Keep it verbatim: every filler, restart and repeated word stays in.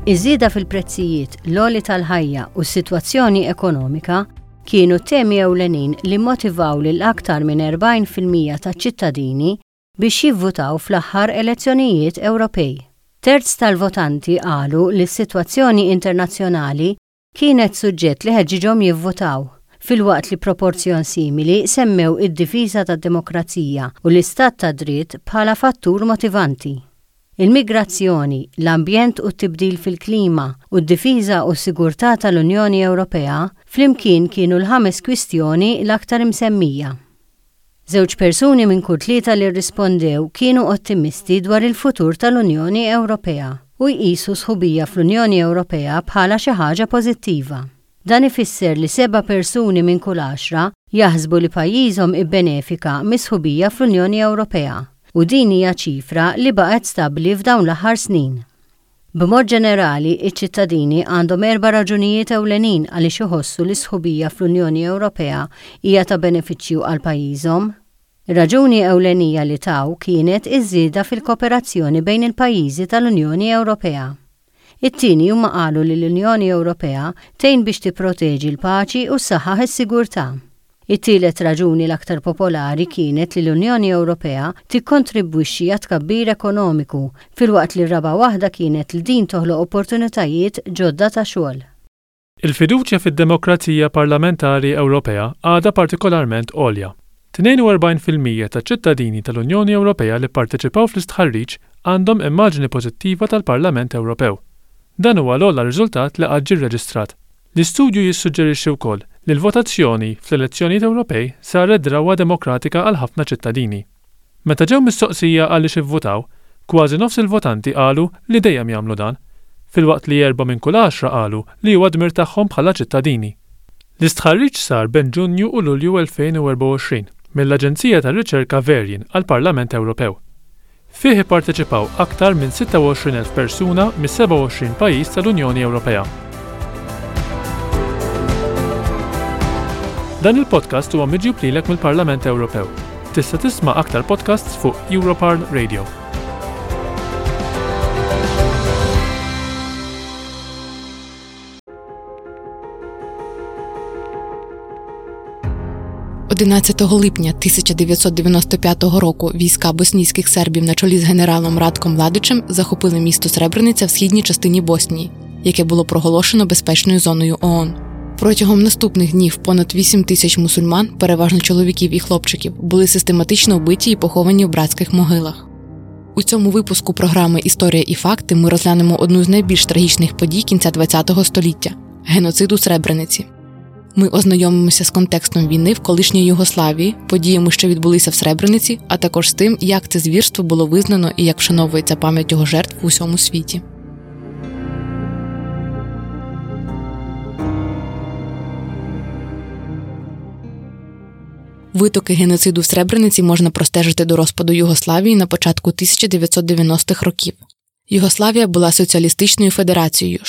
Iż-żieda fil-prezzijiet, l-għoli tal-ħajja u s-sitwazzjoni ekonomika kienu temi ewlenin li motivaw lil aktar minn erbgħin fil-mija taċ-ċittadini biex jivvutaw fl-aħħar elezzjonijiet Ewropej. Terz tal-votanti qalu li s-sitwazzjoni internazzjonali kienet suġġett li ħeġġiġhom jivvutaw, filwaqt li proporzjon simili semmew id-difiża tad-demokrazija u l-istat ta' dritt bħala fattur motivanti. Il-migrazzjoni, l-ambjent u t-tibdil fil-klima u d-difiża u s-sigurtà tal-Unjoni Ewropea flimkien kienu l-ħames kwistjoni l-aktar imsemmija. Żewġ persuni minn kull tlieta li rrispondew kienu ottimisti dwar il-futur tal-Unjoni Ewropea u jqisu sħubija fl-Unjoni Ewropea bħala xi ħaġa pożittiva. Dan ifisser li seba' persuni minn kull għaxra jaħsbu li pajjiżhom ibbenefika mis-sħubija fl-Unjoni Ewropea u din hija ċifra li baqgħet stabbli f'dawn l-aħħar snin. B'mod ġenerali, iċ-ċittadini għandhom erba' raġunijiet ewlenin għaliex iħossu li sħubija fl-Unjoni Ewropea hija ta' benefiċċju għal pajjiżhom. Raġuni ewlenija li taw kienet iż-żieda fil-kooperazzjoni bejn il-pajjiżi tal-Unjoni Ewropea. It-tieni huma qalu li l-Unjoni Ewropea tgħin biex tipproteġi l-paċi u ssaħħaħ is-sigurtà. It-tielet raġuni l-aktar popolari kienet li l-Unjoni Ewropea tikkontribwixxi għat-tkabbir ekonomiku, filwaqt li r-raba' waħda kienet li din toħloq opportunitajiet ġodda ta' xogħol. Il-fiduċja fid-demokrazija parlamentari Ewropea għadha partikolarment għolja. tnejn u erbgħin fil-mija taċ-ċittadini tal-Unjoni Ewropea li pparteċipaw fl-istħarriġ għandhom immaġni pożittiva tal-Parlament Ewropew. Dan huwa l-ogħla riżultat li qatt ġie rreġistrat. L-istudju jissuġġerixxi wkoll li l-votazzjoni fl-elezzjonijiet Ewropej saret drawwa demokratika għal ħafna ċittadini. Meta ġew mistoqsija għaliex ivvutaw, kważi nofs il-votanti qalu li dejjem jagħmlu dan, filwaqt li erba' minn kull għaxra qalu li huwa dmir tagħhom bħala ċittadini. L-istħarriġ sar bejn Ġunju u Lulju elfejn u erbgħa u għoxrin mill-Aġenzija tar-Riċerka Verian għall-Parlament Ewropew. Fih ipparteċipaw aktar minn sitta u għoxrin elf persuna mis-sebgħa u għoxrin pajjiż tal-Unjoni Ewropea. Dan il-podcast huwa miġjub lilek mill-Parlament Ewropew. Tista' tisma' aktar podcasts fuq Europarl Radio. одинадцятого липня тисяча дев'ятсот дев'яносто п'ятого року війська боснійських сербів на чолі з генералом Ратком Младичем захопили місто Сребрениця в східній частині Боснії, яке було проголошено безпечною зоною ООН. Протягом наступних днів понад вісім тисяч мусульман, переважно чоловіків і хлопчиків, були систематично вбиті і поховані в братських могилах. У цьому випуску програми «Історія і факти» ми розглянемо одну з найбільш трагічних подій кінця ХХ століття – геноцид у Сребрениці. Ми ознайомимося з контекстом війни в колишній Югославії, подіями, що відбулися в Сребрениці, а також з тим, як це звірство було визнано і як вшановується пам'ять його жертв в усьому світі. Витоки геноциду в Сребрениці можна простежити до розпаду Югославії на початку тисяча дев'ятсот дев'яностих років. Югославія була соціалістичною федерацією,